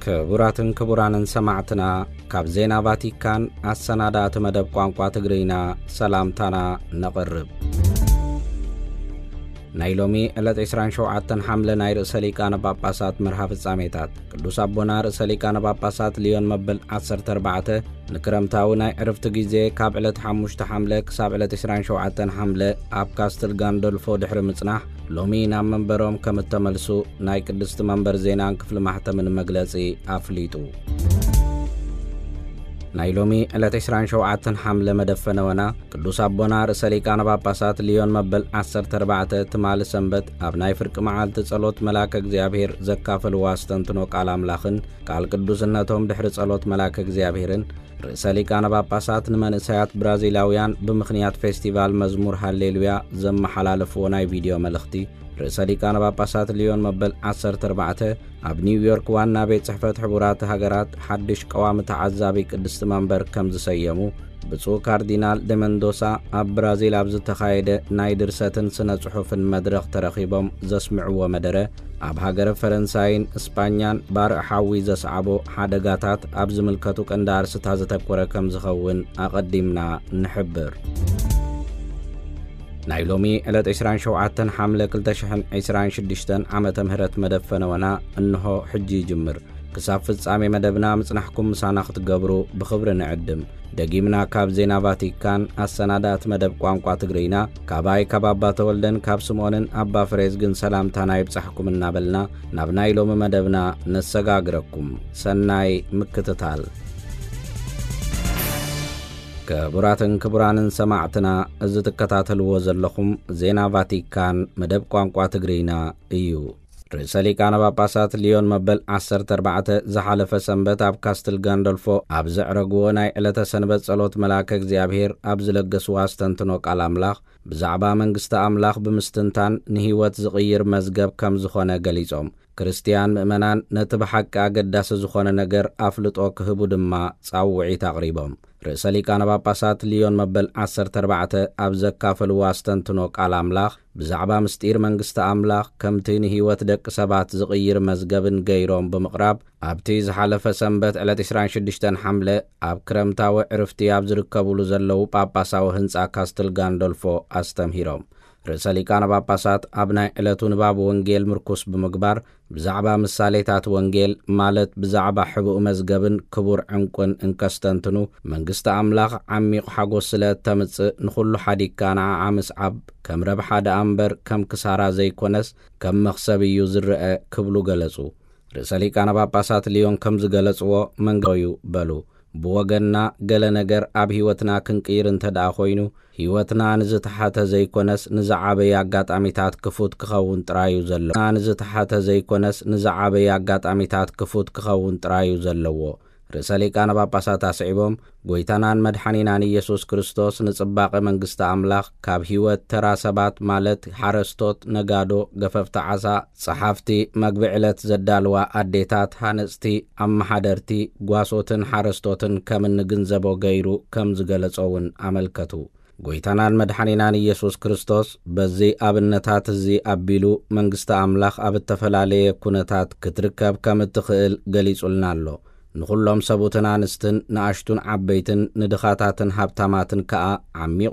ክቡራትን ክቡራንን ሰማዕትና፣ ካብ ዜና ቫቲካን ኣሰናዳእቲ መደብ ቋንቋ ትግርኛ ሰላምታና ነቕርብ። ናይ ሎሚ ዕለት ዕስራን ሸውዓተን ሓምለ ናይ ርእሰ ሊቃነ ጳጳሳት መርሃ ፍጻሜታት። ቅዱስ ኣቦና ርእሰ ሊቃነ ጳጳሳት ሊዮን መበል ዓሰርተ ኣርባዕተ ንክረምታዊ ናይ ዕርፍቲ ግዜ ካብ ዕለት ሓሙሽተ ሓምለ ክሳብ ዕለት ዕስራን ሸውዓተን ሓምለ ኣብ ካስትል ጋንዶልፎ ድሕሪ ምጽናሕ፣ ሎሚ ናብ መንበሮም ከም እተመልሱ ናይ ቅድስቲ መንበር ዜናን ክፍሊ ማሕተምን መግለጺ ኣፍሊጡ። ናይ ሎሚ ዕለት ዕስራን ሸውዓተን ሓምለ መደብ ፈነወና፣ ቅዱስ ኣቦና ርእሰ ሊቃነ ጳጳሳት ሊዮን መበል ዓሰርተ ኣርባዕተ ትማሊ ሰንበት ኣብ ናይ ፍርቂ መዓልቲ ጸሎት መልኣከ እግዚኣብሔር ዘካፈልዎ ኣስተንትኖ ቃል ኣምላኽን ቃል ቅዱስነቶም ድሕሪ ጸሎት መልኣከ እግዚኣብሔርን፣ ርእሰ ሊቃነ ጳጳሳት ንመንእሰያት ብራዚላውያን ብምኽንያት ፌስቲቫል መዝሙር ሃሌሉያ ዘመሓላለፍዎ ናይ ቪድዮ መልእኽቲ፣ ርእሰ ሊቃነ ጳጳሳት ሊዮን መበል ዓሰርተ ኣርባዕተ ኣብ ኒውዮርክ ዋና ቤት ጽሕፈት ሕቡራት ሃገራት ሓድሽ ቀዋሚ ተዓዛቢ ቅድስቲ መንበር ከም ዝሰየሙ፣ ብፁዕ ካርዲናል ደ መንዶሳ ኣብ ብራዚል ኣብ ዝተኻየደ ናይ ድርሰትን ስነ ጽሑፍን መድረኽ ተረኺቦም ዘስምዕዎ መደረ፣ ኣብ ሃገረ ፈረንሳይን እስጳኛን ባርዕ ሓዊ ዘስዓቦ ሓደጋታት ኣብ ዝምልከቱ ቀንዲ ኣርስታት ዘተኮረ ከም ዝኸውን ኣቐዲምና ንሕብር። ናይ ሎሚ ዕለት ዕስራን ሸውዓተን ሓምለ ክልተ ሽሕን ዕስራን ሽዱሽተን ዓመተ ምህረት መደብ ፈነወና እንሆ ሕጂ ይጅምር። ክሳብ ፍጻሜ መደብና ምጽናሕኩም ምሳና ክትገብሩ ብኽብሪ ንዕድም። ደጊምና ካብ ዜና ቫቲካን ኣሰናዳእቲ መደብ ቋንቋ ትግርኛ፣ ካባይ ካብ ኣባ ተወልደን ካብ ስምኦንን ኣባ ፍሬዝግን ሰላምታና ይብጻሕኩም እናበልና፣ ናብ ናይ ሎሚ መደብና ነሰጋግረኩም። ሰናይ ምክትታል። ክቡራትን ክቡራንን ሰማዕትና፣ እዚ ትከታተልዎ ዘለኹም ዜና ቫቲካን መደብ ቋንቋ ትግርኛ እዩ። ርእሰ ሊቃነ ጳጳሳት ሊዮን መበል ዓሰርተ ኣርባዕተ ዝሓለፈ ሰንበት ኣብ ካስትል ጋንዶልፎ ኣብ ዘዕረግዎ ናይ ዕለተ ሰንበት ጸሎት መልኣከ እግዚኣብሔር ኣብ ዝለገስዎ ኣስተንትኖ ቃል ኣምላኽ፣ ብዛዕባ መንግስቲ ኣምላኽ ብምስትንታን ንህይወት ዝቕይር መዝገብ ከም ዝኾነ ገሊጾም፣ ክርስትያን ምእመናን ነቲ ብሓቂ ኣገዳሲ ዝኾነ ነገር ኣፍልጦ ክህቡ ድማ ጻውዒት ኣቕሪቦም። ርእሰ ሊቃነ ጳጳሳት ሊዮን መበል ዓሰርተ ኣርባዕተ ኣብ ዘካፈልዎ ኣስተንትኖ ቃል ኣምላኽ፣ ብዛዕባ ምስጢር መንግስቲ ኣምላኽ ከምቲ ንህይወት ደቂ ሰባት ዝቕይር መዝገብን ገይሮም ብምቕራብ፣ ኣብቲ ዝሓለፈ ሰንበት ዕለት ዕስራን ሽዱሽተን ሓምለ ኣብ ክረምታዊ ዕርፍቲ ኣብ ዝርከቡሉ ዘለዉ ጳጳሳዊ ህንጻ ካስትል ጋንዶልፎ ኣስተምሂሮም። ርእሰ ሊቃነ ጳጳሳት ኣብ ናይ ዕለቱ ንባብ ወንጌል ምርኩስ ብምግባር፣ ብዛዕባ ምሳሌታት ወንጌል፣ ማለት ብዛዕባ ሕቡእ መዝገብን ክቡር ዕንቁን እንከስተንትኑ፣ መንግስቲ ኣምላኽ ዓሚቕ ሓጎስ ስለ እተምጽእ፣ ንኹሉ ሓዲግካ ንዓዓ ምስዓብ ከም ረብሓ ደኣ እምበር ከም ክሳራ ዘይኮነስ ከም መኽሰብ እዩ ዝረአ ክብሉ ገለጹ። ርእሰ ሊቃነ ጳጳሳት ሊዮን ከም ዝገለጽዎ መንገዱ እዩ በሉ። ብወገንና ገለ ነገር ኣብ ህይወትና ክንቅይር እንተ ደኣ ኮይኑ፣ ህይወትና ንዝተሓተ ዘይኮነስ ንዝዓበየ ኣጋጣሚታት ክፉት ክኸውን ጥራይ እዩ ዘለዎ። ንዝተሓተ ዘይኮነስ ንዝዓበየ ኣጋጣሚታት ክፉት ክኸውን ጥራይ እዩ ዘለዎ። ርእሰ ሊቃነ ጳጳሳት ኣስዒቦም፣ ጎይታናን መድሓኒናን ኢየሱስ ክርስቶስ ንጽባቐ መንግስቲ ኣምላኽ ካብ ህይወት ተራ ሰባት፣ ማለት ሓረስቶት፣ ነጋዶ፣ ገፈፍቲ ዓሳ፣ ጸሓፍቲ፣ መግቢ ዕለት ዘዳልዋ ኣዴታት፣ ሃነጽቲ፣ ኣመሓደርቲ፣ ጓሶትን ሓረስቶትን ከም እንግንዘቦ ገይሩ ከም ዝገለጾ እውን ኣመልከቱ። ጎይታናን መድሓኒናን ኢየሱስ ክርስቶስ በዚ ኣብነታት እዚ ኣቢሉ መንግስቲ ኣምላኽ ኣብ እተፈላለየ ኩነታት ክትርከብ ከም እትኽእል ገሊጹልና ኣሎ። ንኹሎም ሰቡትን ኣንስትን፣ ንኣሽቱን ዓበይትን፣ ንድኻታትን ሃብታማትን ከኣ ዓሚቕ